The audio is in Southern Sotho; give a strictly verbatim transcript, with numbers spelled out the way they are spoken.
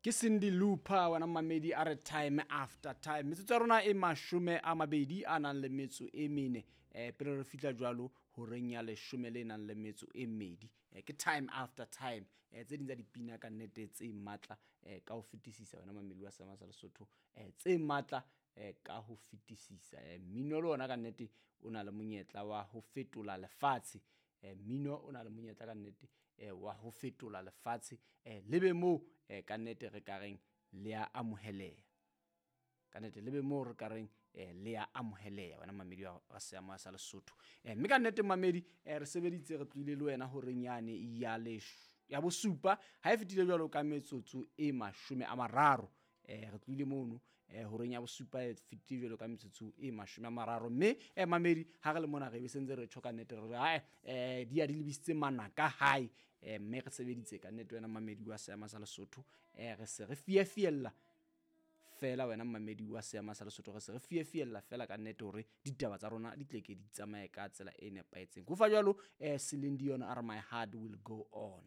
Ke Cindy Looper wena mamedi a re time after time. Metsotso ya rona e mashome a mabedi a nang le metso e mene eh pele re fihla jwalo horeng ya leshome le nang le metso e mmedi. Eh, ke time after time. Eh, tse ding tsa dipina ka nnete tse matla eh, ka ho fetisisa wena mamedi wa Seema sa Lesotho, eh, tse matla eh, ka ho fetisisa. Eh, mmino le ona ka nnete o na le monyetla wa ho fetola lefatshe. Eh, mmino o na le monyetla ka nnete eh, wa ho fetola lefatshe, eh, lebe moo eh, ka nnete re ka reng le a amoheleha. Ka nnete lebe moo re ka reng eh, le a amoheleha wena mamedi wa wa Seema sa Lesotho. Eh, mme ka nnete mamedi eh, re sebeditse re tlohile le wena horeng yane ya lesh ya bosupa ha e fetile jwalo ka metsotso e mashome a mararo. Eh, re tlohile mono eh, horeng ya bosupa e fetile jwalo ka metsotso e mashome a mararo. Mme eh, mamedi ha re le mona re be sentse re tjho ka nnete re re ae eh, di ya di lebisitse manaka hae. Eh, mme re sebeditse ka nnete wena mamedi wa Seema sa Lesotho. Eh, re se re fiefiella fela wena mamedi wa Seema sa Lesotho, re se re fiefiella fela ka nnete hore ditaba tsa rona di tle ke di tsamaye ka tsela e nepahetseng. Ho fa jwalo eh, Celine Dion a re my heart will go on.